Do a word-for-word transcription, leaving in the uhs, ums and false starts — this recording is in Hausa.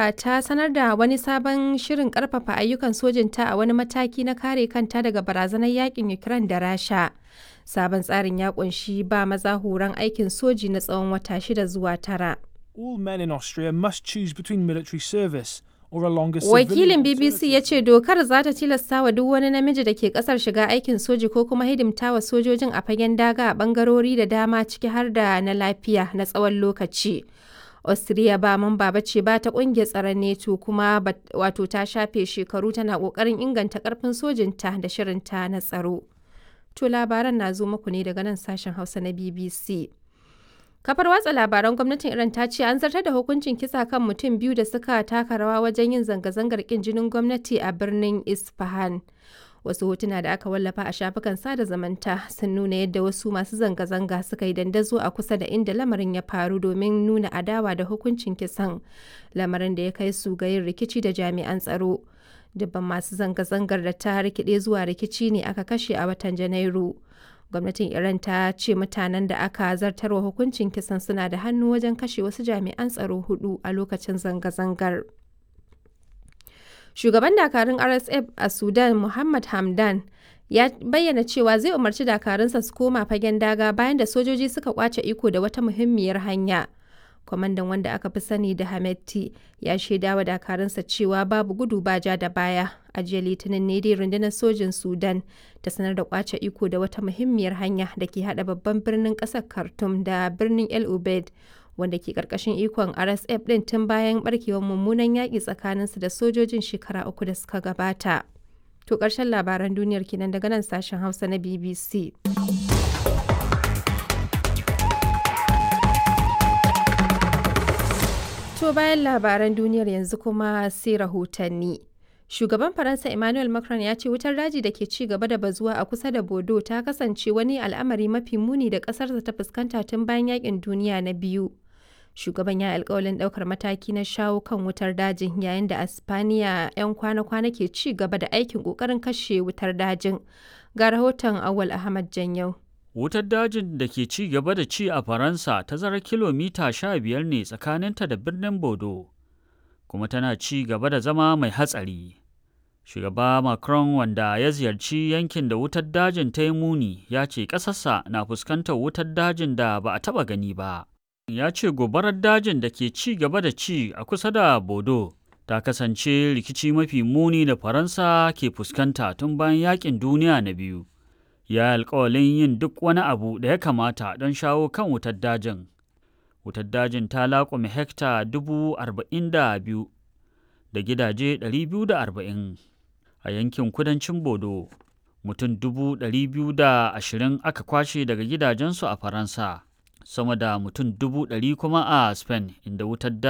Austria ta sanar da wani sabon shirin karfafa ayyukan sojinta a wani mataki na kare kanta daga barazanar yakin Ukraine da Rasha. Sabon tsarin ya kunshi ba maza horon aikin soji na tsawon wata shida zuwa tara. All men in Austria must choose between military service or a longer Wakilin civilian B B C ya ce dokar za ta tilasta wa duk wani namiji da ke kasar shiga aikin soji ko kuma hidimta wa sojojin a fagen daga a bangarori da dama, ciki har da na lafiya, na tsawon lokaci. Austria ba mamba ba ce ba ta kungiyar tsaron NATO, kuma wato ta shafe shekaru tana kokarin inganta karfin sojinta da shirinta na tsaro. To labaran na zo muku ne daga nan sashen Hausa na B B C. Kafar watsa labaran gwamnatin Iran ta ce an zartar da hukuncin kisa kan mutum biyu da suka taka rawa wajen yin zanga-zangar kin jinin gwamnati a birnin Isfahan. Wasu hotuna da aka wallafa a shafukan sada zamanta sun nuna yadda wasu masu zanga-zanga suka yi dandazo a kusa da inda lamarin ya faru domin nuna adawa da hukuncin kisan, lamarin da ya kai su ga yin rikici da jami'an tsaro. Dubban masu zanga-zangar da ta rikide zuwa rikici ne aka kashe a watan Janairu. Gwamnatin Iran ta ce mutanen da aka zartarwa hukuncin kisan suna da hannu wajen kashe wasu jami'an tsaro hudu a lokacin zanga-zangar. Shugaban dakarun R S F a Sudan, Muhammad Hamdan, ya bayyana cewa zai umarci dakarunsa su koma fagen daga bayan da sojoji suka kwace iko da wata muhimmiyar hanya. Kwamandan, wanda aka fi sani da Hameti, ya shaida wa dakarunsa cewa babu gudu ba ja da baya. A jiya Litinin ne dai rundunar sojin Sudan ta sanar da kwace iko da wata muhimmiyar hanya da ke hada babban birnin kasar Khartoum da birnin El Ubeid, wanda ke karkashin ikon R S F din tun bayan barkewar mummunan yaƙi tsakaninsu da sojojin shekara uku da suka gabata. To ƙarshen labaran duniyar kenan daga nan sashen Hausa na B B C. To bayan labaran duniyar, yanzu kuma sai rahotanni. Shugaban Faransa Emmanuel Macron ya ce wutar daji da ke ci gaba da bazuwa a kusa da Bordeaux ta kasance wani al'amari mafi muni da ƙasarsa ta fuskanta tun bayan yakin duniya na biyu. Shugaban ya alkawalin ɗaukar mataki na shawo kan wutar dajin, yayin da a Spaniya 'yan kwana-kwana ke ci gaba da aikin ƙoƙarin kashe wutar dajin. Ga rahoton Awal Ahmad Janyau. Wutar dajin da ke ci gaba da ci a Faransa tazarar kilomita sha biyar ne tsakaninta da birnin Bordeaux, kuma tana ci gaba da zama mai hatsari. Shugaba Macron, wanda ya ziyarci yankin da wutar dajin ta yi muni, ya ce ƙasarsa na fuskantar wutar dajin da ba a taɓa gani ba. Ya ce gobarar dajin da ke ci gaba da ci a kusa da Bordeaux ta kasance rikici mafi muni da Faransa ke fuskanta tun bayan yakin duniya na biyu. Ya yi alkawalin yin duk wani abu da ya kamata don shawo kan wutar dajin. Wutar dajin ta laƙume hekta dubu arba'in da biyu da gidaje ɗari biyu da arba'in a yankin kudancin Bodo. Mutum dubu ɗari biyu da ashirin aka kwashe daga gidajensu a Faransa, sama da mutum dubu ɗari kuma a Spain, inda wutar dajin